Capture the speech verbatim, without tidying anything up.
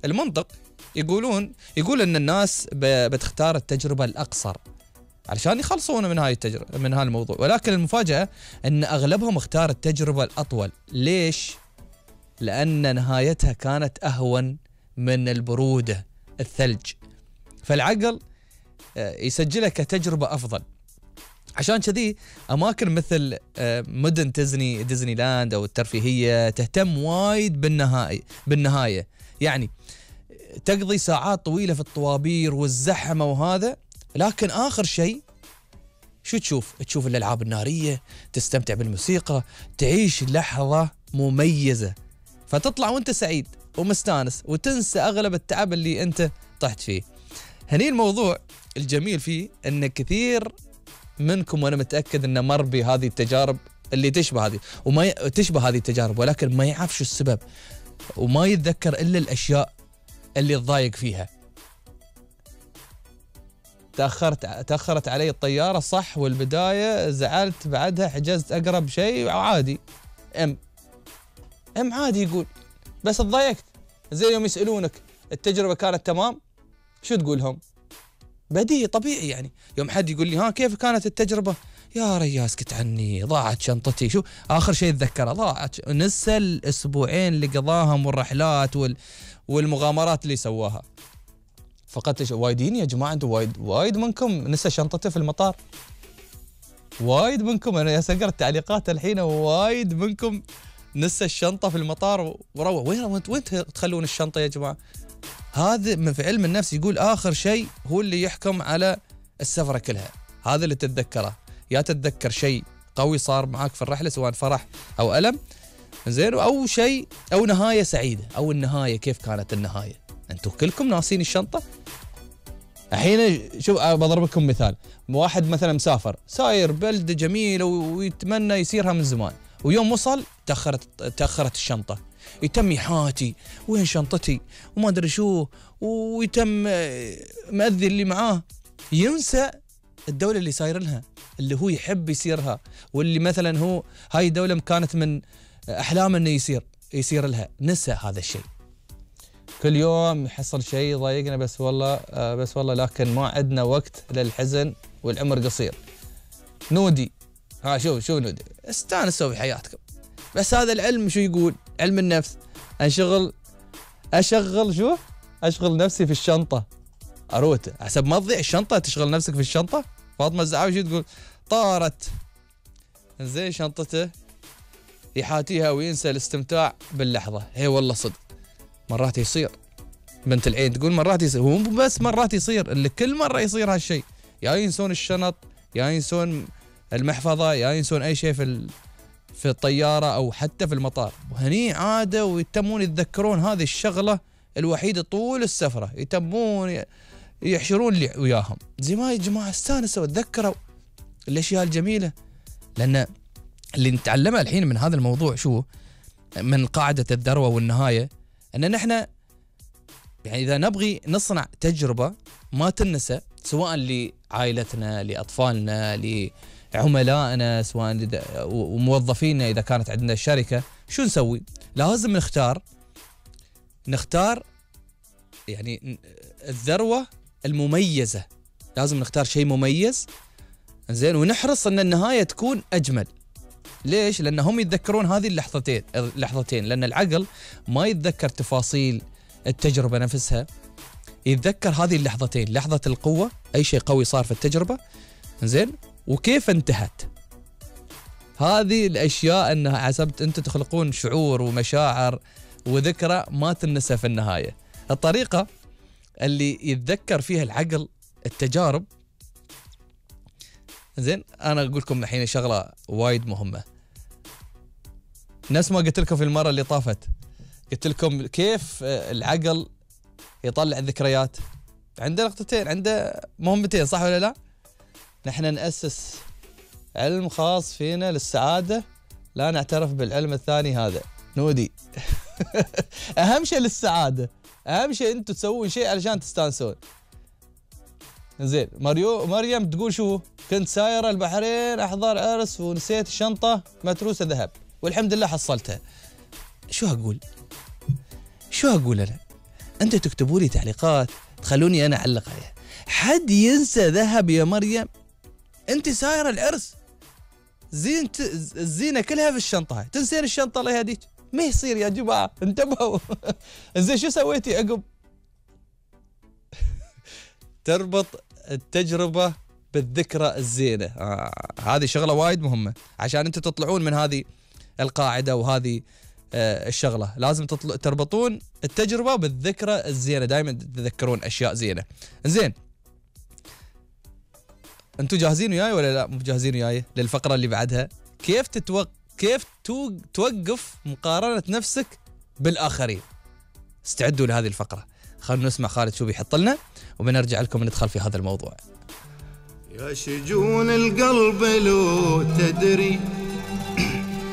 المنطق يقولون يقول ان الناس بتختار التجربه الاقصر علشان يخلصون من هاي التجربه من هذا الموضوع، ولكن المفاجاه ان اغلبهم اختار التجربه الاطول. ليش؟ لان نهايتها كانت اهون من البروده الثلج، فالعقل يسجلها كتجربه افضل. عشان كذي اماكن مثل مدن ديزني ديزني لاند او الترفيهيه تهتم وايد بالنهايه بالنهايه يعني تقضي ساعات طويله في الطوابير والزحمه وهذا، لكن اخر شيء شو تشوف؟ تشوف الالعاب الناريه، تستمتع بالموسيقى، تعيش لحظه مميزه، فتطلع وانت سعيد ومستانس وتنسى اغلب التعب اللي انت طحت فيه. هني الموضوع الجميل فيه ان كثير منكم وانا متاكد انه مر بهذه التجارب اللي تشبه هذه وما ي... تشبه هذه التجارب، ولكن ما يعرف شو السبب وما يتذكر الا الاشياء اللي تضايق فيها. تاخرت تاخرت علي الطياره صح، والبدايه زعلت، بعدها حجزت اقرب شيء عادي. ام ام عادي يقول، بس تضايقت. زي يوم يسالونك التجربه كانت تمام، شو تقول لهم؟ بديهي طبيعي يعني. يوم حد يقول لي ها كيف كانت التجربه؟ يا ريا اسكت عني، ضاعت شنطتي. شو اخر شيء اتذكره؟ ضاعت. نسى الاسبوعين اللي قضاهم والرحلات وال والمغامرات اللي سواها. فقدت وايدين يا جماعه، انتم وايد وايد منكم نسى شنطته في المطار. وايد منكم، انا اسقر التعليقات الحين، وايد منكم نسى الشنطه في المطار وروح. وين وين تخلون الشنطه يا جماعه؟ هذا من في علم النفس يقول اخر شيء هو اللي يحكم على السفره كلها. هذا اللي تتذكره، يا تتذكر شيء قوي صار معاك في الرحله سواء فرح او الم زين، او شيء او نهايه سعيده، او النهايه كيف كانت النهايه. انتم كلكم ناسين الشنطه. الحين شوف بضرب لكم مثال، واحد مثلا مسافر ساير بلده جميله ويتمنى يسيرها من زمان، ويوم وصل تاخرت تاخرت الشنطه، يتم يحاتي وين شنطتي وما ادري شو، ويتم مأذي اللي معاه، ينسى الدوله اللي ساير لها، اللي هو يحب يسيرها، واللي مثلا هو هاي الدوله كانت من احلامه انه يسير يسير لها، نسى هذا الشيء. كل يوم يحصل شيء يضايقنا، بس والله بس والله لكن ما عندنا وقت للحزن والعمر قصير. نودي ها شوف شوف نودي استانسوا بحياتكم. بس هذا العلم شو يقول؟ علم النفس انشغل اشغل شو؟ اشغل نفسي في الشنطه اروت، حسب ما تضيع الشنطه تشغل نفسك في الشنطه. فاطمه الزعاوي شو تقول؟ طارت زين شنطته يحاتيها وينسى الاستمتاع باللحظه. هي والله صدق مرات يصير. بنت العين تقول مرات يصير، هو بس مرات يصير، اللي كل مره يصير هالشيء، يا ينسون الشنط، يا ينسون المحفظه، يا ينسون اي شيء في في الطياره او حتى في المطار. وهني عاده ويتمون يتذكرون هذه الشغله الوحيده طول السفره، يتمون يحشرون اللي وياهم. زي ما يا جماعه استانسوا وتذكروا الاشياء الجميله. لان اللي نتعلمه الحين من هذا الموضوع شو؟ من قاعده الذروه والنهايه، ان نحن يعني اذا نبغي نصنع تجربه ما تنسى، سواء لعائلتنا، لاطفالنا، لعملائنا، سواء وموظفينا اذا كانت عندنا شركه، شو نسوي؟ لازم نختار نختار يعني الذروه المميزه، لازم نختار شيء مميز زين، ونحرص ان النهايه تكون اجمل. ليش؟ لان هم يتذكرون هذه اللحظتين اللحظتين لان العقل ما يتذكر تفاصيل التجربه نفسها، يتذكر هذه اللحظتين، لحظه القوه، اي شيء قوي صار في التجربه زين، وكيف انتهت. هذه الاشياء انها حسبت انتم تخلقون شعور ومشاعر وذكرى ما تنسى في النهايه. الطريقه اللي يتذكر فيها العقل التجارب زين، انا اقول لكم الحين شغله وايد مهمه. نفس ما قلت لكم في المره اللي طافت، قلت لكم كيف العقل يطلع الذكريات. عنده نقطتين، عنده مهمتين، صح ولا لا؟ نحن نأسس علم خاص فينا للسعاده، لا نعترف بالعلم الثاني هذا. نودي اهم شيء للسعاده، اهم شيء انتم تسوون شيء علشان تستانسون. زين، مريو مريم تقول شو؟ كنت سايره البحرين احضر عرس ونسيت الشنطه متروسه ذهب والحمد لله حصلتها. شو اقول؟ شو اقول انا؟ أنت تكتبوا لي تعليقات تخلوني أنا أعلق عليها. حد ينسى ذهب يا مريم؟ أنت سايرة العرس زين الزينة كلها في الشنطة، هاي تنسين الشنطة الله يهديك، ما يصير يا جماعة انتبهوا. زين شو سويتي عقب؟ تربط التجربة بالذكرى الزينة. آه هذه شغلة وايد مهمة عشان أنتوا تطلعون من هذه القاعدة وهذه آه الشغلة، لازم تطل... تربطون التجربة بالذكرى الزينة، دائما تتذكرون أشياء زينة. زين أنتوا جاهزين وياي ولا لا مو جاهزين وياي للفقرة اللي بعدها؟ كيف تتوق... كيف تو... توقف مقارنة نفسك بالآخرين؟ استعدوا لهذه الفقرة، خلونا نسمع خالد شو بيحط لنا وبنرجع لكم ندخل في هذا الموضوع. يا شجون القلب لو تدري